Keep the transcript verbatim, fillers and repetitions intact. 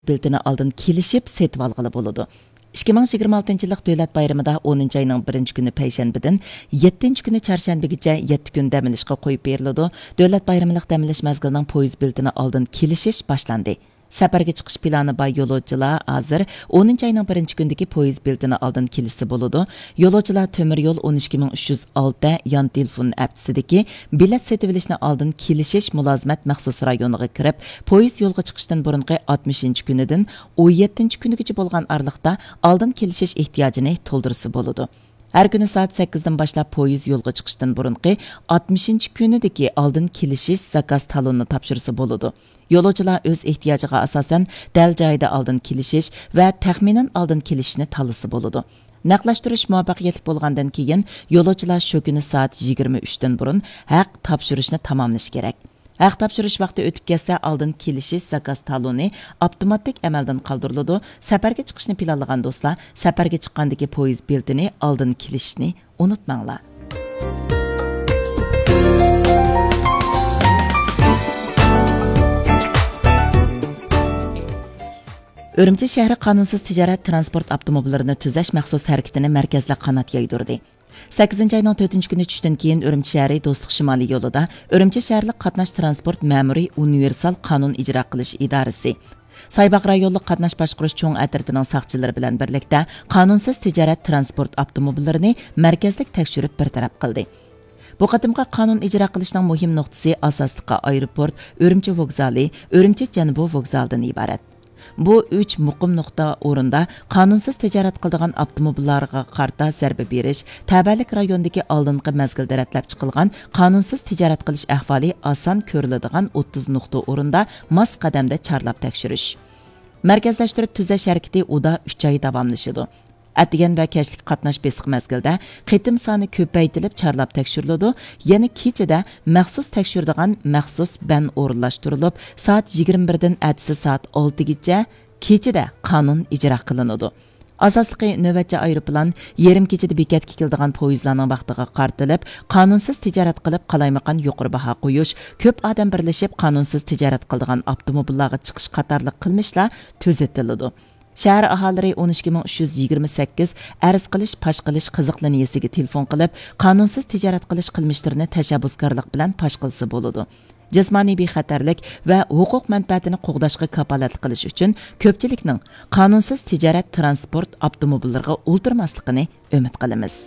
بېلىتىنى ئالدىن كېلىشىپ سېتىۋالغىلى بولىدۇ. ئىككى مىڭ يىگىرمە ئالتىنچى يىللىق دۆلەت بايرىمىدا ئونىنچى ئاينىڭ بىرىنچى كۈنى پەيشەنبىدىن يەتتىنچى كۈنى چارشەنبىگىچە يەتتە كۈن دەم ئېلىشقا قويۇپ بېرىلىدۇ. دۆلەت بايرىملىق دەم ئېلىش مەزگىلىنىڭ پويىز بېلىتىنى ئالدىن كېلىشىش باشلاندى. سەپەرگە چىقىش پىلانى بار يولۇچىلار ھازىر ئونىنچى ئاينىڭ بىرىنچى كۈنىدىكى پويىز بېلىتىنى ئالدىن كېلىشسە بولىدۇ. يولۇچىلار تۆمۈر يول ئون ئىككى مىڭ ئۈچ يۈز ئالتە يان تېلېفون ئەپتىسىدىكى بېلەت سېتىۋېلىشنى ئالدىن كېلىشىش مۇلازىمەت مەخسۇس رايونىغا كىرىپ، پويىز يولغا چىقىشتىن بۇرۇنقى ئاتمىشىنچى كۈنىدىن ئون يەتتىنچى كۈنىگىچە بولغان ئارىلىقتا ئالدىن كېلىشىش ئېھتىياجىنى تولدۇرسا بولىدۇ. ھەر كۈنى سائەت سەككىزدىن باشلاپ پويىز يولغا چىقىشتىن بۇرۇنقى ئاتمىشىنچى كۈنىدىكى ئالدىن كېلىشىش زاكاز تالونىنى تاپشۇرسا بولىدۇ. يولۇچىلار ئۆز ئېھتىياجىغا ئاساسەن دەل جايىدا ئالدىن كېلىشىش ۋە تەخمىنەن ئالدىن كېلىشىشنى تاللىسا بولىدۇ. نەقلەشتۈرۈش مۇۋەپپەقىيەتلىك بولغاندىن كېيىن، يولۇچىلار شۇ كۈنى سائەت يىگىرمە ئۈچتىن بۇرۇن ھەق تاپشۇرۇشنى تاماملىشى كېرەك. ھەق تاپشۇرۇش ۋاقتى ئۆتۈپ كەتسە، ئالدىن كېلىشىش زاكاز تالونى ئاپتوماتىك ئەمەلدىن قالدۇرۇلىدۇ. سەپەرگە چىقىشنى پىلانلىغان دوستلار، سەپەرگە چىققاندىكى پويىز بېلىتىنى ئالدىن كېلىشىشنى ئۇنتۇماڭلار. ئۈرۈمچى شەھىرى قانۇنسىز تىجارەت تىرانسپورت ئاپتوموبىللىرىنى تۈزەش مەخسۇس ھەرىكىتىنى مەركەزلىك قانات يايدۇردى. سەككىزىنچى ئاينىڭ تۆتىنچى كۈنى چۈشتىن كېيىن ئۈرۈمچى شەھىرى دوستلۇق شىمالىي يولىدا ئۈرۈمچى شەھەرلىك قاتناش تىرانسپورت مەمۇرىي ئۇنىۋېرسال قانۇن ئىجرا قىلىش ئىدارىسى، سايباغ رايونلۇق قاتناش باشقۇرۇش چوڭ ئەترىتىنىڭ ساقچىلىرى بىلەن بىرلىكتە قانۇنسىز تىجارەت تىرانسپورت ئاپتوموبىللىرىنى مەركەزلىك تەكشۈرۈپ بىر تەرەپ قىلدى. بۇ قېتىمقى قانۇن ئىجرا قىلىشنىڭ مۇھىم نۇقتىسى ئاساسلىقى ئايروپورت، ئۈرۈمچى ۋوگزالى، ئۈرۈمچى جەنۇبى ۋوگزالىدىن ئىبارەت. بۇ ئۈچ مۇقىم نۇقتا ئورۇندا قانۇنسىز تىجارەت قىلىدىغان ئاپتوموبىللارغا قارىتا زەربە بېرىش، تەۋەلىك رايوندىكى ئالدىنقى مەزگىلدە رەتلەپ چىقىلغان قانۇنسىز تىجارەت قىلىش ئەھۋالى ئاسان كۆرۈلىدىغان ئوتتۇز نۇقتا ئورۇندا ماس قەدەمدە چارلاپ تەكشۈرۈش. مەركەزلەشتۈرۈپ تۈزەش ھەرىكىتى ئۇدا ئۈچ ئاي داۋاملىشىدۇ. ئەتىگەن ۋە كەچلىك قاتناش بېسىق مەزگىلدە قېتىم سانى كۆپەيتىلىپ چارلاپ تەكشۈرۈلىدۇ، يەنە كېچىدە مەخسۇس تەكشۈرىدىغان مەخسۇس بەن ئورۇنلاشتۇرۇلۇپ، سائەت يىگىرمە بىردىن ئەتىسى سائەت ئالتىگىچە كېچىدە قانۇن ئىجرا قىلىنىدۇ. ئاساسلىقى نۆۋەتچى ئايروپىلان يېرىم كېچىدە بېكەتكە كېلىدىغان پويىزلارنىڭ ۋاقتىغا قارىتىلىپ، قانۇنسىز تىجارەت قىلىپ قالايمىقان يۇقىرى باھا قويۇش، كۆپ ئادەم بىرلىشىپ قانۇنسىز تىجارەت قىلىدىغان ئاپتوموبىللارغا چىقىش قاتارلىق قىلمىشلار تۈزىتىلىدۇ. شەھەر ئاھالىلىرى ئون ئىككى مىڭ ئۈچ يۈز يىگىرمە سەككىز ئەرز قىلىش پاش قىلىش قىزىق لىنىيىسىگە تېلېفون قىلىپ، قانۇنسىز تىجارەت قىلىش قىلمىشلىرىنى تەشەببۇسكارلىق بىلەن پاش قىلسا بولىدۇ. جىسمانىي بىخەتەرلىك ۋە ھوقۇق مەنپەئەتىنى قوغداشقا كاپالەتلىك قىلىش ئۈچۈن كۆپچىلىكنىڭ قانۇنسىز تىجارەت تىرانسپورت ئاپتوموبىللىرىغا ئولتۇرماسلىقىنى ئۈمىد قىلىمىز.